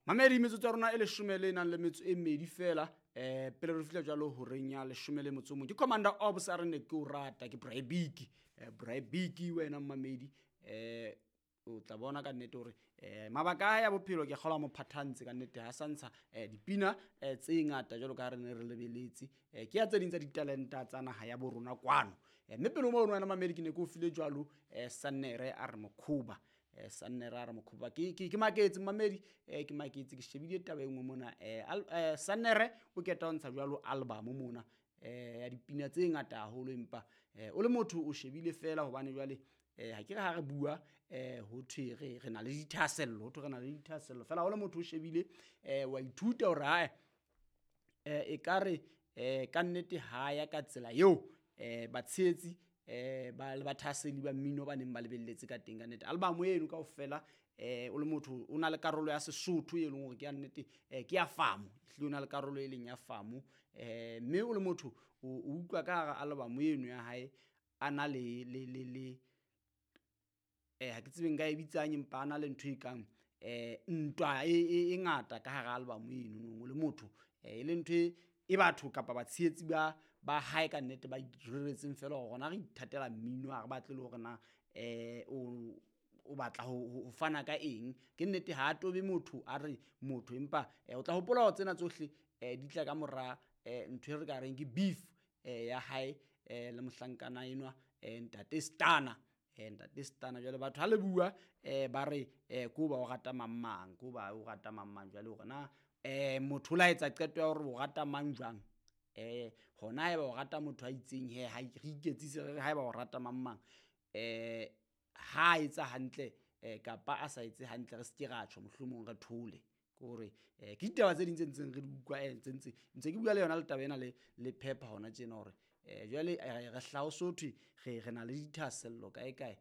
Mamedi, metsotso ya rona e leshome le nang le metso e mmedi fela, pele re fihla jwalo horeng ya leshome le motso o mong. Ke Commander Obs a re ne ke o rata, ke Braibiki. Braibiki wena mmamedi, o tla bona ka nnete hore mabaka a hae a bophelo ke kgolwa mo phathantse ka nnete, ha sa ntsha dipina tse ngata jwalo ka ha re ne re lebeletse. Ke ya tse ding tsa ditalenta tsa naha ya bo rona kwano. Mme pele ho mono wena mamedi, ke ne ke o file jwalo Sannere a re mokhoba. Sannere a re mokhoba. Ke maketse mamedi, ke maketse, ke shebile taba e nngwe mona. Sannere o keta ho ntsha jwalo album mona, ya dipina tse ngata haholo, empa o le motho o shebile fela hobane jwale ha ke re ha re bua, ho thwe re na le dithahasello, ho thwe re na le dithahasello fela. Ha o le motho o shebile, wa ithuta hore hae, ekare ka nnete ha ya ka tsela eo batshehetsi ba le bathahaseli ba mmino ba neng ba lebelletse ka teng. Ka nnete album eno kaofela, o le motho o na le karolo ya Sesotho e leng hore ke ya nnete, ke ya famo, ehlile o na le karolo e leng ya famo. Mme o le motho o utlwa ka hara album eno ya hae a na le le le le ha ke tsebe nka e bitsang, empa a na le ntho e kang ntwa e ngata ka hara album eno. O le motho e le ntho e batho kapa batshehetsi ba hae ka nnete ba ireretseng fela hore rona re ithatela mmino, ha re batle le hore na o batla ho fana ka eng. Ke nnete ha a tobe motho a re motho, empa o tla hopola hore tsena tsohle di tla ka mora ntho e re ka reng ke beef ya hae le mohlankana enwa, ntate Stana. Ntate Stana. Jwale batho ha le bua, ba re ko ba o rata mang mang, ko ba o rata mang mang. Jwale hore na motho o la etsa qeto ya hore o rata mang jwang, hona haeba o rata motho a itseng he, ha re iketsise re re haeba o rata mang mang, ha etsa hantle kapa a sa etse hantle, re ske ra tjho, mohlomong re thole. Ke hore ke ditaba tse ding tse ntseng re di utlwa, tse ntse ke bua le yona le taba ena le Phepha hona tjena hore jwale re hlaha ho so thwe re na le dithahasello kae kae,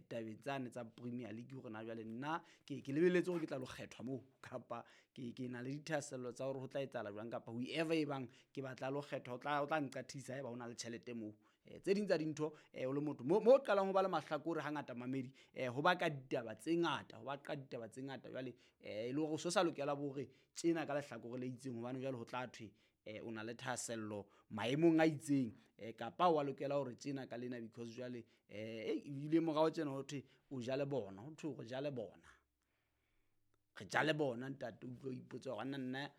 tabeng tsane tsa Premier League, hore na jwale nna ke lebelletse hore ke tla lo kgethwa moo, kapa ke na le dithahasello tsa hore ho tla etsahala jwang, kapa whoever e bang ke batla lo kgethwa o tla nqathisa haeba ho na le tjhelete moo. Tse ding tsa dintho, o le motho mo qalang ho ba le mahlakore hangata mamedi, ho baka ditaba tse ngata, ho baka ditaba tse ngata. Jwale e le hore o so sa lokela bo hore tjena ka lehlakore le itseng, hobane jwale ho tla thwe o na le thahasello maemong a itseng, kapa wa lokela hore tjena ka lena, because jwale ebile morao tjena ho thwe o ja le bona, ho thwe re ja le bona, re ja le bona ntate. O utlwe o ipotsa hore nna nna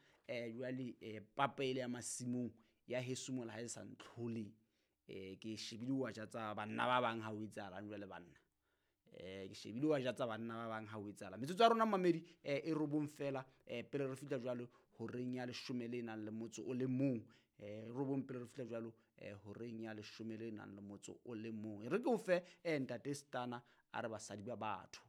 jwale papa ele ya masimong ya heso mola ha e sa ntlhole, ke shebile wa ja tsa banna ba bang ha o etsahalang jwale banna, ke shebile wa ja tsa banna ba bang ha o etsahala. Metsotso ya rona mamedi, e robong fela, pele re fihla jwalo horeng ya leshome le nang le motso o le mong, robong pele re fihla jwalo horeng ya leshome le nang le motso o le mong. E re ke o fe ntate Stana a re basadi ba batho.